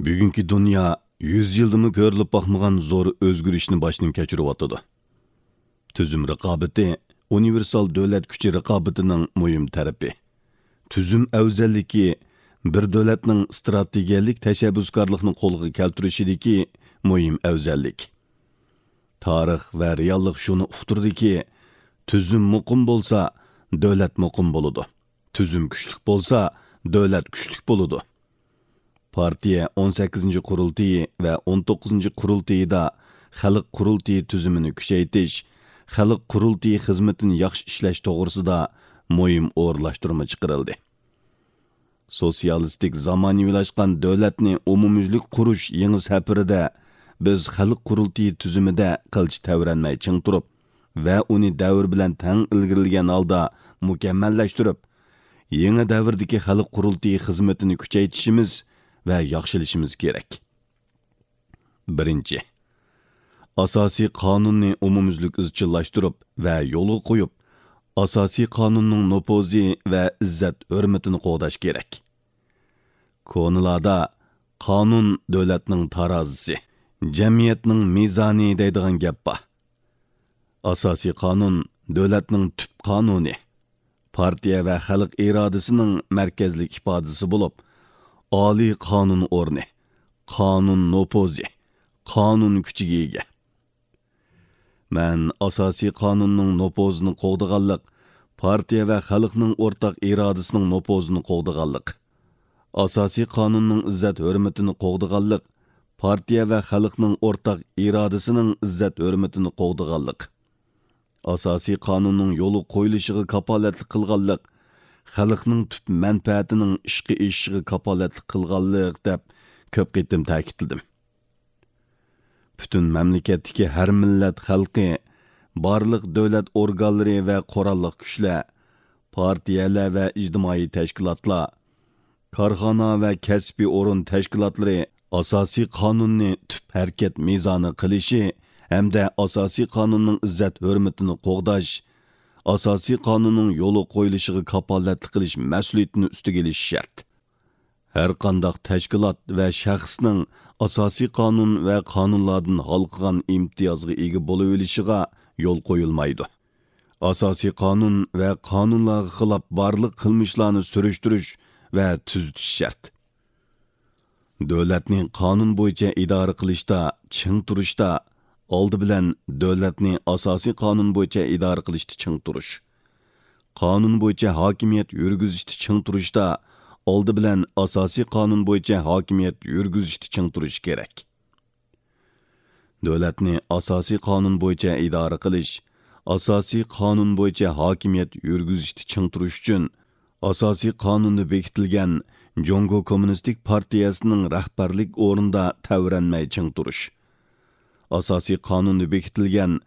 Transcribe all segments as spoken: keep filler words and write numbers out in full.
بۈگۈنكى دۇنيا يۈز يىلدىمۇ كۆرۈلۈپ باقمىغان زور ئۆزگىرىشنى باشتىن كەچۈرۈۋاتىدۇ. تۈزۈم رىقابىتى ئۇنىۋېرسال دۆلەت كۈچى رىقابىتىنىڭ مۇھىم تەرىپى. تۈزۈم ئەۋزەللىكى بىر دۆلەتنىڭ ئىستراتېگىيەلىك تەشەببۇسكارلىقنى قولغا كەلتۈرۈشىدىكى مۇھىم ئەۋزەللىك. تارىخ ۋە رېئاللىق شۇنى ئۇقتۇردىكى، تۈزۈم مۇقىم بولسا، دۆلەت مۇقىم بولىدۇ. تۈزۈم كۈچلۈك بولسا، دۆلەت كۈچلۈك بولىدۇ. پارتىيە ئون سەككىزىنچى قۇرۇلتىيى ۋە ئون توققۇزىنچى قۇرۇلتىيىدا خەلق قۇرۇلتىيى تۈزۈمىنى كۈچەيتىش، خەلق قۇرۇلتىيى خىزمىتىنى ياخشى ئىشلەش توغرىسىدا مۇھىم ئورۇنلاشتۇرما چىقىرىلدى. سوتسىيالىستىك زامانىۋىلاشقان دۆلەتنى ئومۇميۈزلۈك قۇرۇش يېڭى سەپىرىدە بىز خەلق قۇرۇلتىيى تۈزۈمىدە قىلچە تەۋرەنمەي چىڭ تۇرۇپ ۋە ئۇنى دەۋر بىلەن تەڭ ئىلگىرىلىگەن ھالدا مۇكەممەللەشتۈرۈپ، يېڭى دەۋردىكى خەلق قۇرۇلتىيى خىزمىتىنى كۈچەيتىشىمىز ۋە ياخشىلىشىمىز كېرەك. بىرىنچى، ئاساسىي قانۇننى ئومۇميۈزلۈك ئىزچىللاشتۇرۇپ ۋە يولغا قويۇپ، ئاساسىي قانۇننىڭ نوپۇزى ۋە ئىززەت ھۆرمىتىنى قوغداش كېرەك. كونىلاردا «قانۇن دۆلەتنىڭ تارازىسى، جەمئىيەتنىڭ مىزانى» دەيدىغان گەپ بار. ئاساسىي قانۇن دۆلەتنىڭ تۈپ قانۇنى، پارتىيە ۋە خەلق ئىرادىسىنىڭ مەركەزلىك ئىپادىسى بولۇپ، ئالىي قانۇن ئورنى، قانۇن نوپۇزى، قانۇن كۈچىگە ئىگە. مەن ئاساسىي قانۇننىڭ نوپۇزىنى قوغدىغانلىق، پارتىيە ۋە خەلقنىڭ ئورتاق ئىرادىسىنىڭ نوپۇزىنى قوغدىغانلىق، ئاساسىي قانۇننىڭ ئىززەت ھۆرمىتىنى قوغدىغانلىق، پارتىيە ۋە خەلقنىڭ ئورتاق ئىرادىسىنىڭ ئىززەت ھۆرمىتىنى قوغدىغانلىق، ئاساسىي قانۇننىڭ يولغا قويۇلۇشىغا كاپالەتلىك قىلغانلىق، خەلقنىڭ تۈپ مەنپەئەتىنىڭ ئىشقا ئېشىشىغا كاپالەتلىك قىلغانلىق دەپ كۆپ قېتىم تەكىتلىدىم. پۈتۈن مەملىكەتتىكى ھەر مىللەت خەلقى، بارلىق دۆلەت ئورگانلىرى ۋە قوراللىق كۈچلەر، پارتىيەلەر ۋە ئىجتىمائىي تەشكىلاتلار، كارخانا ۋە كەسپىي ئورۇن تەشكىلاتلىرى ئاساسىي قانۇننى تۈپ ھەرىكەت مىزانى قىلىشى ھەمدە ئاساسىي قانۇننىڭ ئىززەت ھۆرمىتىنى قوغداش، ئاساسىي قانۇننىڭ يولغا قويۇلۇشىغا كاپالەتلىك قىلىش مەسئۇلىيىتىنى ئۈستىگە ئېلىشى شەرت. ھەرقانداق تەشكىلات ۋە شەخسنىڭ ئاساسىي قانۇن ۋە قانۇنلاردىن ھالقىغان ئىمتىيازغا ئىگە بولۇۋېلىشىغا يول قويۇلمايدۇ. ئاساسىي قانۇن ۋە قانۇنلارغا خىلاپ بارلىق قىلمىشلارنى سۈرۈشتۈرۈش ۋە تۈزىتىش شەرت. دۆلەتنى قانۇن بويىچە ئىدارە قىلىشتا، چىڭ تۇرۇشتا، ئالدى بىلەن دۆلەتنى ئاساسىي قانۇن بويىچە ئىدارە قىلىشتا چىڭ تۇرۇش. قانۇن بويىچە ھاكىمىيەت يۈرگۈزۈشتە چىڭ تۇرۇشتا، ئالدى بىلەن ئاساسىي قانۇن بويىچە ھاكىمىيەت يۈرگۈزۈشتە چىڭ تۇرۇش كېرەك. دۆلەتنى ئاساسىي قانۇن بويىچە ئىدارە قىلىش، ئاساسىي قانۇن بويىچە ھاكىمىيەت يۈرگۈزۈشتە چىڭ تۇرۇش ئۈچۈن، ئاساسىي قانۇندا بېكىتىلگەن جۇڭگو كوممۇنىستىك پارتىيەسىنىڭ رەھبەرلىك ئورنىدا تەۋرەنمەي چىڭ تۇرۇش. ئاساسىي قانۇندا بېكىتىلگەن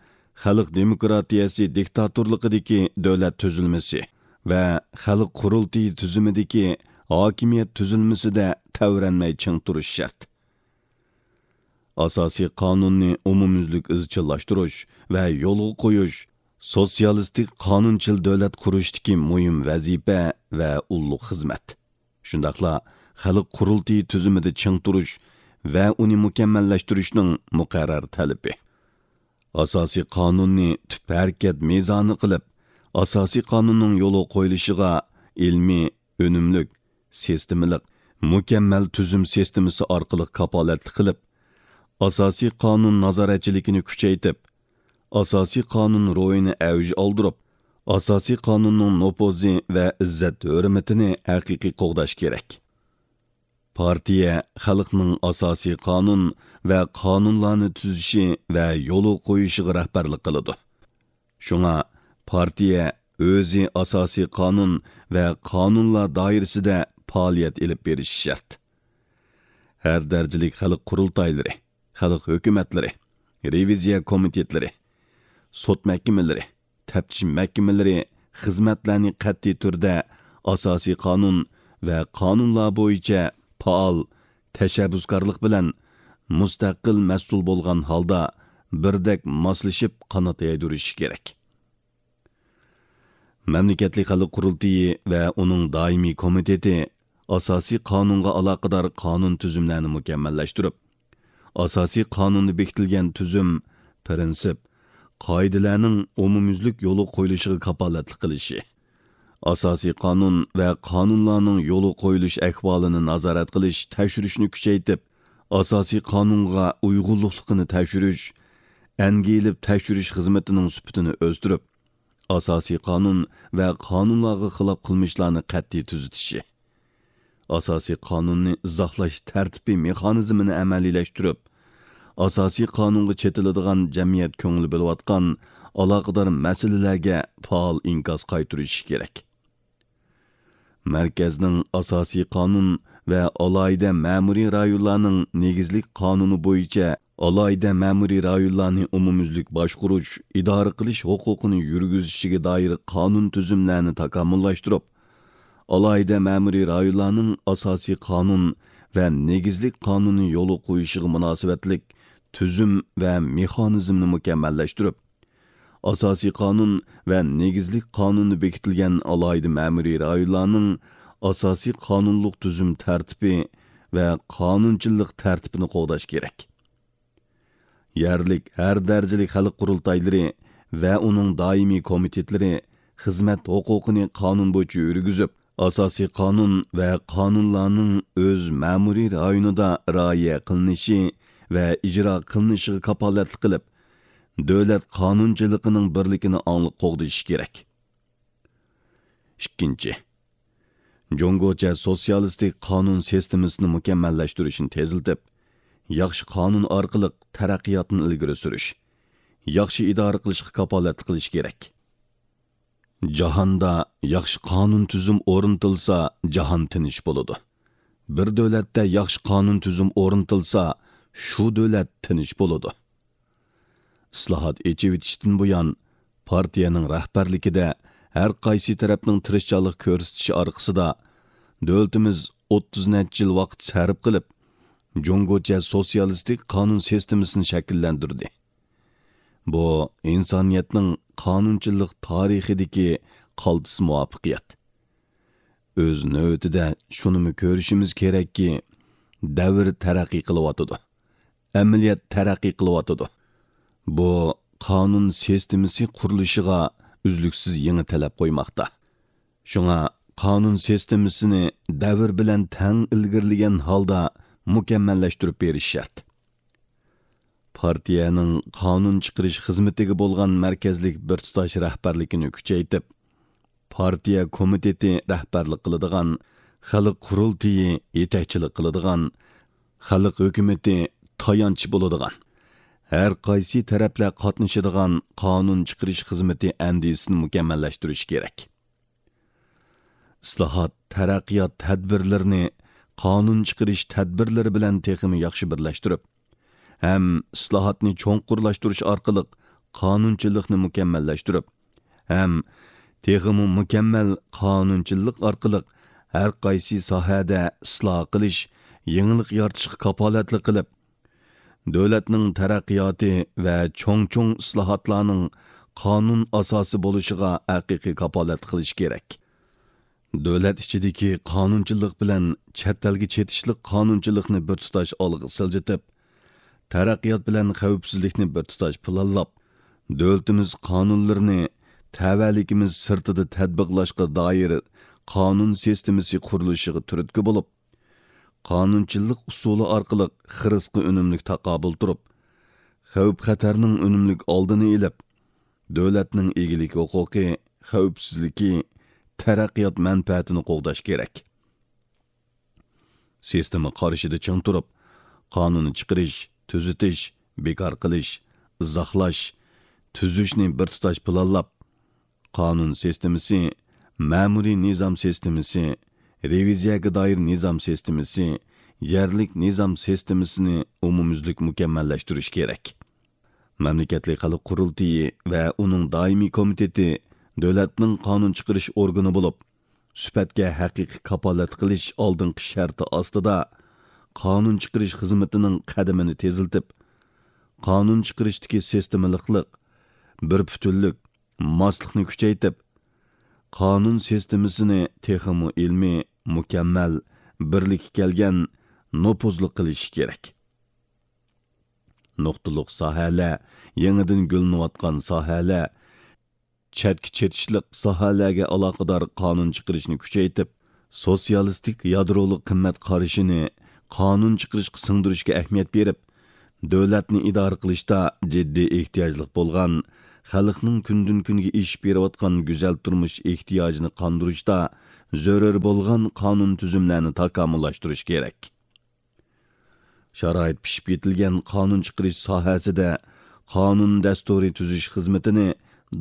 خەلق دېموكراتىيەسى دىكتاتورلۇقىدىكى دۆلەت تۈزۈلمىسى ۋە خەلق قۇرۇلتىيى تۈزۈمىدىكى ھاكىمىيەت تۈزۈلمىسىدە تەۋرەنمەي چىڭ تۇرۇش شەرت. ئاساسىي قانۇننى ئومۇميۈزلۈك ئىزچىللاشتۇرۇش ۋە يولغا قويۇش سوتسىيالىستىك قانۇنچىل دۆلەت قۇرۇشتىكى مۇھىم ۋەزىپە ۋە ئۇللۇق خىزمەت. شۇنداقلا خەلق قۇرۇلتىيى تۈزۈمىدە چىڭ تۇرۇش ۋە ئۇنى مۇكەممەللەشتۈرۈشنىڭ مۇقەررەر تەلىپى. ئاساسىي قانۇننى تۈپ ھەرىكەت مىزانى قىلىپ، ئاساسىي قانۇننىڭ يولغا قويۇلۇشىغا ئىلمىي، ئۈنۈملۈك، سىستېمىلىق، مۇكەممەل تۈزۈم سىستېمىسى ئارقىلىق كاپالەتلىك قىلىپ، ئاساسىي قانۇن نازارەتچىلىكىنى كۈچەيتىپ، ئاساسىي قانۇن روھىنى ئەۋج ئالدۇرۇپ، ئاساسىي قانۇننىڭ نوپۇزى ۋە ئىززەت ھۆرمىتىنى ھەقىقىي قوغداش كېرەك. پارتىيە خەلقنىڭ ئاساسىي قانۇن ۋە قانۇنلارنى تۈزۈشى ۋە يولغا قويۇشىغا رەھبەرلىك قىلىدۇ. شۇڭا پارتىيە ئۆزى ئاساسىي قانۇن ۋە قانۇنلار دائىرىسىدە پائالىيەت ئېلىپ بېرىشى شەرت. ھەر دەرىجىلىك خەلق قۇرۇلتايلىرى، خەلق ھۆكۈمەتلىرى، رېۋىزىيە كومىتېتلىرى، سوت مەھكىمىلىرى، تەپتىش مەھكىمىلىرى خىزمەتلەرنى قەتئىي تۈردە ئاساسىي قانۇن ۋە قانۇنلار بويىچە پائال تەشەببۇسكارلىق بىلەن مۇستەقىل مەسئۇل بولغان ھالدا بىردەك ماسلىشىپ قانات يايدۇرۇشى كېرەك. مەملىكەتلىك خەلق قۇرۇلتىيى ۋە ئۇنىڭ دائىمىي كومىتېتى ئاساسىي قانۇنغا ئالاقىدار قانۇن تۈزۈملەرنى مۇكەممەللەشتۈرۈپ، ئاساسىي قانۇندا بېكىتىلگەن تۈزۈم، پىرىنسىپ، قائىدىلەرنىڭ ئومۇميۈزلۈك يولغا قويۇلۇشىغا كاپالەتلىك قىلىشى، ئاساسىي قانۇن ۋە قانۇنلارنىڭ يولغا قويۇلۇش ئەھۋالىنى نازارەت قىلىش، تەكشۈرۈشنى كۈچەيتىپ، ئاساسىي قانۇنغا ئۇيغۇنلۇقلۇقىنى تەكشۈرۈش، ئەنگە ئېلىپ تەكشۈرۈش خىزمىتىنىڭ سۈپىتىنى ئۆستۈرۈپ، ئاساسىي قانۇن ۋە قانۇنلارغا خىلاپ قىلمىشلارنى قەتئىي تۈزىتىشى، ئاساسىي قانۇننى ئىزاھلاش تەرتىپى مېخانىزمىنى ئەمەلىيلەشتۈرۈپ، ئاساسىي قانۇنغا چېتىلىدىغان جەمئىيەت كۆڭۈل بۆلۈۋاتقان ئالاقىدار مەسىلىلەرگە پائال ئىنكاس قايتۇرۇشى كېرەك. مەركەزنىڭ ئاساسىي قانۇن ۋە ئالاھىدە مەمۇرىي رايونلارنىڭ نېگىزلىك قانۇنى بويىچە ئالاھىدە مەمۇرىي رايونلارنى ئومۇميۈزلۈك باشقۇرۇش، ئىدارە قىلىش ھوقۇقىنى يۈرگۈزۈشىگە دائىر قانۇن تۈزۈملەرنى تاكامۇللاشتۇرۇپ، ئالاھىدە مەمۇرىي رايونلارنىڭ ئاساسىي قانۇن ۋە نېگىزلىك قانۇننى يولغا قويۇشىغا مۇناسىۋەتلىك تۈزۈم ۋە مېخانىزمنى مۇكەممەللەشتۈرۈپ، ئاساسىي قانۇن ۋە نېگىزلىك قانۇندا بېكىتىلگەن ئالاھىدە مەمۇرىي رايونلارنىڭ ئاساسىي قانۇنلۇق تۈزۈم تەرتىپى ۋە قانۇنچىللىق تەرتىپىنى قوغداش كېرەك. يەرلىك ھەر دەرىجىلىك خەلق قۇرۇلتايلىرى ۋە ئۇنىڭ دائىمىي كومىتېتلىرى خىزمەت ھوقۇقىنى قانۇن بويىچە يۈرگۈزۈپ، ئاساسىي قانۇن ۋە قانۇنلارنىڭ ئۆز مەمۇرىي رايونىدا رىئايە قىلىنىشى ۋە ئىجرا قىلىنىشىغا كاپالەتلىك قىلىپ، دۆلەت قانۇنچىلىقىنىڭ بىرلىكىنى ئاڭلىق قوغدىشى كېرەك. ئىككىنچى، جۇڭگوچە سوتسىيالىستىك قانۇن سىستېمىسىنى مۇكەممەللەشتۈرۈشنى تېزلىتىپ، ياخشى قانۇن ئارقىلىق تەرەققىياتنى ئىلگىرى سۈرۈش، ياخشى ئىدارە قىلىشقا كاپالەتلىك قىلىش كېرەك. جاھاندا ياخشى قانۇن تۈزۈم ئورنىتىلسا، جاھان تىنچ بولىدۇ. بىر دۆلەتتە ياخشى قانۇن تۈزۈم ئورنىتىلسا، شۇ دۆلەت تىنچ بولىدۇ. ئىسلاھات ئېچىۋېتىشتىن بۇيان، پارتىيەنىڭ رەھبەرلىكىدە ھەر قايسى تەرەپنىڭ تىرىشچانلىق كۆرسىتىشى ئارقىسىدا، دۆلىتىمىز ئوتتۇز نەچچە يىل ۋاقىت سەرپ قىلىپ، جۇڭگوچە سوتسىيالىستىك قانۇن سىستېمىسىنى شەكىللەندۈردى. بۇ ئىنسانىيەتنىڭ قانۇنچىلىق تارىخىدىكى قالتىس مۇۋەپپەقىيەت. ئۆز نۆۋىتىدە شۇنىمۇ كۆرۈشىمىز كېرەككى، دەۋر تەرەققىي قىلىۋاتىدۇ. ئەمەلىيەت تەرەققىي قىلىۋاتىدۇ. بۇ قانۇن سىستېمىسى قۇرۇلۇشىغا ئۈزلۈكسىز يېڭى تەلەپ قويماقتا. شۇڭا قانۇن سىستېمىسىنى دەۋر بىلەن تەڭ ئىلگىرىلىگەن ھالدا مۇكەممەللەشتۈرۈپ بېرىش شەرت. پارتىيەنىڭ قانۇن چىقىرىش خىزمىتىگە بولغان مەركەزلىك بىر تۇتاش رەھبەرلىكىنى كۈچەيتىپ، پارتىيە كومىتېتى رەھبەرلىك قىلىدىغان، خەلق قۇرۇلتىيى يېتەكچىلىك قىلىدىغان، خەلق ھۆكۈمىتى تايانچ بولىدىغان، ھەر قايسى تەرەپلەر قاتنىشىدىغان قانۇن چىقىرىش خىزمىتى ئەندىزىسىنى مۇكەممەللەشتۈرۈش كېرەك. ئىسلاھات، تەرەققىيات تەدبىرلىرىنى قانۇن چىقىرىش تەدبىرلىرى بىلەن تېخىمۇ ياخشى بىرلەشتۈرۈپ، ھەم ئىسلاھاتنى چوڭقۇرلاشتۇرۇش ئارقىلىق قانۇنچىلىقنى مۇكەممەللەشتۈرۈپ، ھەم تېخىمۇ مۇكەممەل قانۇنچىلىق ئارقىلىق ھەر قايسى ساھەدە ئىسلاھ قىلىش، يېڭىلىق يارىتىشقا كاپالەتلىك قىلىپ، دۆلەتنىڭ تەرەققىياتى ۋە چوڭ-چوڭ ئىسلاھاتلارنىڭ قانۇن ئاساسى بولۇشىغا ھەقىقىي كاپالەتلىك قىلىش كېرەك. دۆلەت ئىچىدىكى قانۇنچىلىق بىلەن چەت ئەلگە چېتىشلىق قانۇنچىلىقنى بىر تۇتاش ئالغا سىلجىتىپ، تەرەققىيات بىلەن خەۋپسىزلىكنى بىر تۇتاش پىلانلاپ، دۆلىتىمىز قانۇنلىرىنى تەۋەلىكىمىز سىرتىدا تەتبىقلاشقا دائىر قانۇن سىستېمىسى قۇرۇلۇشىغا تۈرتكە بولۇپ، قانۇنچىلىق ئۇسۇلى ئارقىلىق خىرىسقا ئۈنۈملۈك تاقابىل تۇرۇپ، خەۋپ-خەتەرنىڭ ئۈنۈملۈك ئالدىنى ئېلىپ، دۆلەتنىڭ ئىگىلىك ھوقۇقى، خەۋپسىزلىكى، تەرەققىيات مەنپەئەتىنى قوغداش كېرەك. سىستېما قارىشىدا چىڭ تۇرۇپ، قانۇن چىقىرىش، تۈزىتىش، بىكار قىلىش، ئىزاھلاش، تۈزۈشنى بىر تۇتاش پىلانلاپ، قانۇن سىستېمىسى، مەمۇرىي نىزام سىستېمىسى، رېۋىزىيەگە دائىر نىزام سىستېمىسى، يەرلىك نىزام سىستېمىسىنى ئومۇميۈزلۈك مۇكەممەللەشتۈرۈش كېرەك. مەملىكەتلىك خەلق قۇرۇلتىيى ۋە ئۇنىڭ دائىمىي كومىتېتى دۆلەتنىڭ قانۇن چىقىرىش ئورگىنى بولۇپ، سۈپەتكە ھەقىقىي كاپالەتلىك قىلىش ئالدىنقى شەرتى ئاستىدا، قانۇن چىقىرىش خىزمىتىنىڭ قەدىمىنى تېزلىتىپ، قانۇن چىقىرىشتىكى سىستېمىلىقلىق، بىر پۈتۈنلۈك، ماسلىقنى كۈچەيتىپ، قانۇن سىستېمىسىنى تېخىمۇ ئىلمىي، مۇكەممەل، بىرلىككە كەلگەن، نوپۇزلۇق قىلىشى كېرەك. نۇقتىلىق ساھەلەر، يېڭىدىن گۈللىنىۋاتقان ساھەلەر، چەتكە چېتىشلىق ساھەلەرگە ئالاقىدار قانۇن چىقىرىشنى كۈچەيتىپ، سوتسىيالىستىك يادرولۇق قىممەت قارىشىنى قانۇن چىقىرىشقا سىڭدۈرۈشكە ئەھمىيەت بېرىپ، دۆلەتنى ئىدارە قىلىشتا جىددىي ئېھتىياجلىق بولغان، خەلقنىڭ كۈندىن-كۈنگە ئېشىپ بېرىۋاتقان گۈزەل تۇرمۇش ئېھتىياجىنى قاندۇرۇشتا زۆرۈر بولغان قانۇن تۈزۈملەرنى تاكامۇللاشتۇرۇش كېرەك. شارائىت پىشىپ يېتىلگەن قانۇن چىقىرىش ساھەسىدە قانۇن دەستۇرى تۈزۈش خىزمىتىنى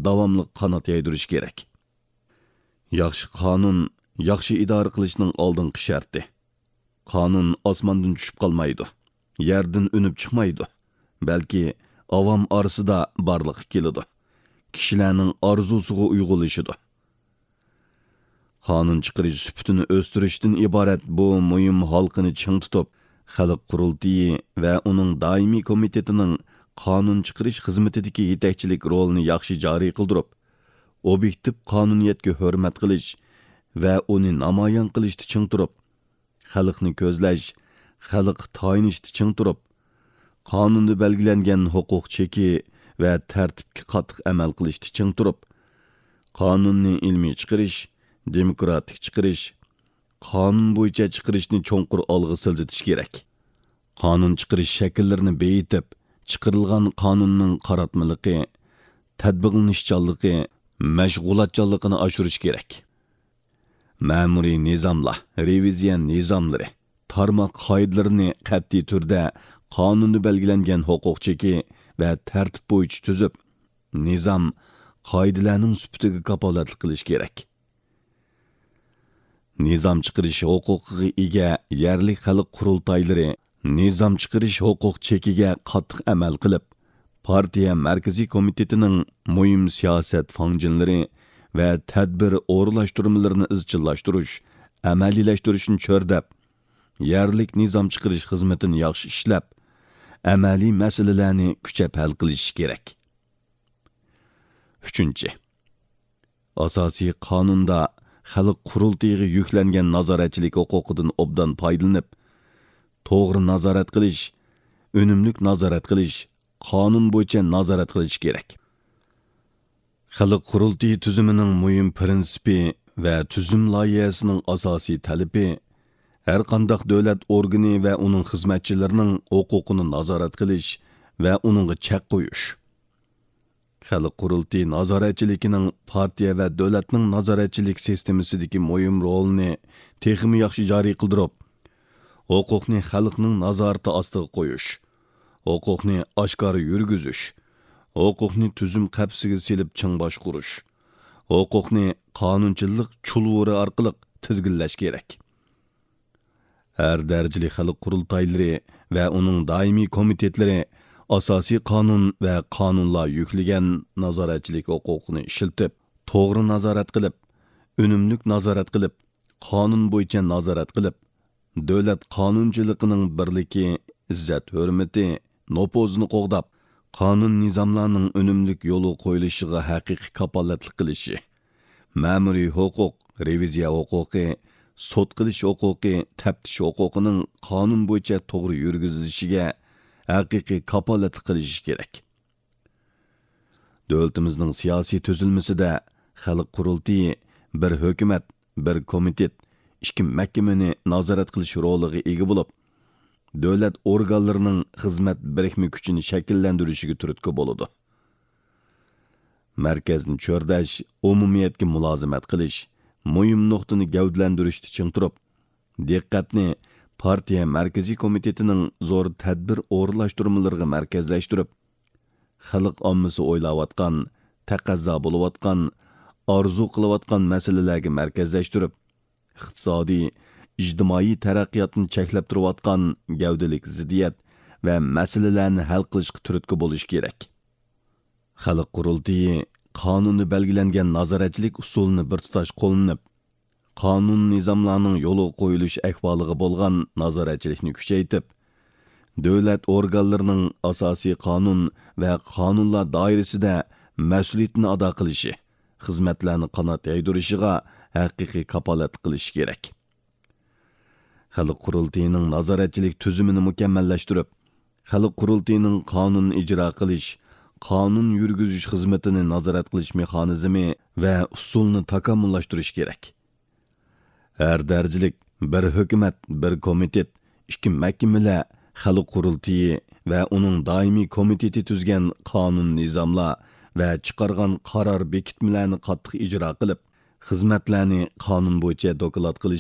داۋاملىق قانات يايدۇرۇش كېرەك. ياخشى قانۇن ياخشى ئىدارە قىلىشنىڭ ئالدىنقى شەرتى. قانۇن ئاسماندىن چۈشۈپ قالمايدۇ، يەردىن ئۈنۈپ چىقمايدۇ، بەلكى ئاۋام ئارىسىدا بارلىققا كېلىدۇ، كىشىلەرنىڭ ئارزۇسىغا ئۇيغۇنلىشىدۇ. قانۇن چىقىرىش سۈپىتىنى ئۆستۈرۈشتىن ئىبارەت بۇ مۇھىم ھالقىنى چىڭ تۇتۇپ، خەلق قۇرۇلتىيى ۋە ئۇنىڭ دائىمىي كومىتېتىنىڭ قانۇن چىقىرىش خىزمىتىدىكى يېتەكچىلىك رولىنى ياخشى جارى قىلدۇرۇپ، ئوبيېكتىپ قانۇنىيەتكە ھۆرمەت قىلىش ۋە ئۇنى نامايان قىلىشتا چىڭ تۇرۇپ، خەلقنى كۆزلەش، خەلققە تايىنىشتا چىڭ تۇرۇپ، قانۇندا بەلگىلەنگەن ھوقۇق چېكى ۋە تەرتىپكە قاتتىق ئەمەل قىلىشتا چىڭ تۇرۇپ، قانۇننى ئىلمىي چىقىرىش، دېموكراتىك چىقىرىش، قانۇن بويىچە چىقىرىشنى چوڭقۇر ئالغا سىلجىتىش كېرەك. قانۇن چىقىرىش شەكىللىرىنى بېيىتىپ، چىقىرىلغان قانۇننىڭ قاراتمىلىقى، تەتبىقلىنىشچانلىقى، مەشغۇلاتچانلىقىنى ئاشۇرۇش كېرەك. مەمۇرىي نىزاملار، رېۋىزىيە نىزاملىرى، تارماق قائىدىلىرىنى قەتئىي تۈردە قانۇندا بەلگىلەنگەن ھوقۇق چېكى ۋە تەرتىپ بويىچە تۈزۈپ، نىزام، قائىدىلەرنىڭ سۈپىتىگە كاپالەتلىك قىلىش كېرەك. نىزام چىقىرىش ھوقۇقىغا ئىگە يەرلىك خەلق قۇرۇلتايلىرى نىزام چىقىرىش ھوقۇق چېكىگە قاتتىق ئەمەل قىلىپ، پارتىيە مەركىزىي كومىتېتىنىڭ مۇھىم سىياسەت فاڭجېنلىرى ۋە تەدبىر ئورۇنلاشتۇرمىلىرىنى ئىزچىللاشتۇرۇش، ئەمەلىيلەشتۈرۈشنى چۆرىدەپ، يەرلىك نىزام چىقىرىش خىزمىتىنى ياخشى ئىشلەپ، ئەمەلىي مەسىلىلەرنى كۈچەپ ھەل قىلىشى كېرەك. ئۈچىنچى، ئاساسىي قانۇندا خەلق قۇرۇلتىيىغا يۈكلەنگەن نازارەتچىلىك ھوقۇقىدىن ئوبدان پايدىلىنىپ، توغرا نازارەت قىلىش، ئۈنۈملۈك نازارەت قىلىش، قانۇن بويىچە نازارەت قىلىش كېرەك. خەلق قۇرۇلتىيى تۈزۈمىنىڭ مۇھىم پىرىنسىپى ۋە تۈزۈم لايىھەسىنىڭ ئاساسىي تەلىپى، ھەرقانداق دۆلەت ئورگىنى ۋە ئۇنىڭ خىزمەتچىلىرىنىڭ ھوقۇقىنى نازارەت قىلىش ۋە ئۇنىڭغا چەك قويۇش. خەلق قۇرۇلتىيى نازارەتچىلىكىنىڭ پارتىيە ۋە دۆلەتنىڭ نازارەتچىلىك سىستېمىسىدىكى مۇھىم رولىنى تېخىمۇ ياخشى جارى قىلدۇرۇپ، ھوقۇقنى خەلقنىڭ نازارىتى ئاستىغا قويۇش، ھوقۇقنى ئاشكارا يۈرگۈزۈش، ھوقۇقنى تۈزۈم قەپىسىگە سېلىپ چىڭ باشقۇرۇش، ھوقۇقنى قانۇنچىلىق چۇلۋۇرى ئارقىلىق تىزگىنلەش كېرەك. ھەر دەرىجىلىك خەلق قۇرۇلتايلىرى ۋە ئۇنىڭ دائىمىي كومىتېتلىرى ئاساسىي قانۇن ۋە قانۇنلار يۈكلىگەن نازارەتچىلىك ھوقۇقىنى ئىشلىتىپ، توغرا نازارەت قىلىپ، ئۈنۈملۈك نازارەت قىلىپ، قانۇن بويىچە نازارەت قىلىپ، دۆلەت قانۇنچىلىقىنىڭ بىرلىكى، ئىززەت-ھۆرمىتى، نوپۇزىنى قوغداپ، قانۇن-نىزاملارنىڭ ئۈنۈملۈك يولغا قويۇلۇشىغا ھەقىقىي كاپالەتلىك قىلىشى، مەمۇرىي ھوقۇق، رېۋىزىيە ھوقۇقى، سوت قىلىش ھوقۇقى، تەپتىش ھوقۇقىنىڭ قانۇن بويىچە توغرا يۈرگۈزۈلۈشىگە ھەقىقىي كاپالەتلىك قىلىشى كېرەك. دۆلىتىمىزنىڭ سىياسىي تۈزۈلمىسىدە خەلق قۇرۇلتىيى بىر ھۆكۈمەت، بىر كومىتېت، ئىككى مەھكىمىنى نازارەت قىلىش رولىغا ئىگە بولۇپ، دۆلەت ئورگانلىرىنىڭ خىزمەت بىرىكمە كۈچىنى شەكىللەندۈرۈشىگە تۈرتكە بولىدۇ. مەركەزنى چۆرىدەش، ئومۇمىيەتكە مۇلازىمەت قىلىش، مۇھىم نۇقتىنى گەۋدىلەندۈرۈشتە چىڭ تۇرۇپ، دىققەتنى پارتىيە مەركىزىي كومىتېتىنىڭ زور تەدبىر ئورۇنلاشتۇرمىلىرىغا مەركەزلەشتۈرۈپ، خەلق ئاممىسى ئويلاۋاتقان، تەقەززا بولۇۋاتقان، ئارزۇ قىلىۋاتقان مەسىلىلەرگە مەركەزلەشتۈرۈپ، ئىقتىسادىي، ئىجتىمائىي تەرەققىياتنى چەكلەپ تۇرۇۋاتقان گەۋدىلىك زىددىيەت ۋە مەسىلىلەرنى ھەل قىلىشقا تۈرتكە بولۇش كېرەك. خەلق قۇرۇلتىيى قانۇندا بەلگىلەنگەن نازارەتچىلىك ئۇسۇلىنى بىر تۇتاش قوللىنىپ، قانۇن-نىزاملارنىڭ يولغا قويۇلۇش ئەھۋالىغا بولغان نازارەتچىلىكنى كۈچەيتىپ، دۆلەت ئورگانلىرىنىڭ ئاساسىي قانۇن ۋە قانۇنلار دائىرىسىدە مەسئۇلىيىتىنى ئادا قىلىشى، خىزمەتلەرنى قانات يايدۇرۇشىغا ھەقىقىي كاپالەتلىك قىلىشى كېرەك. خەلق قۇرۇلتىيىنىڭ نازارەتچىلىك تۈزۈمىنى مۇكەممەللەشتۈرۈپ، خەلق قۇرۇلتىيىنىڭ قانۇن ئىجرا قىلىش، قانۇن يۈرگۈزۈش خىزمىتىنى نازارەت قىلىش مېخانىزمى ۋە ئۇسۇلىنى تاكامۇللاشتۇرۇش كېرەك. ھەر دەرىجىلىك بىر ھۆكۈمەت، بىر كومىتېت، ئىككى مەھكىمىلەر، خەلق قۇرۇلتىيى ۋە ئۇنىڭ دائىمىي كومىتېتى تۈزگەن قانۇن نىزاملار ۋە چىقارغان قارار بېكىتمىلەرنى قاتتىق ئىجرا قىلىپ، خىزمەتلەرنى قانۇن بويىچە دوكلات قىلىش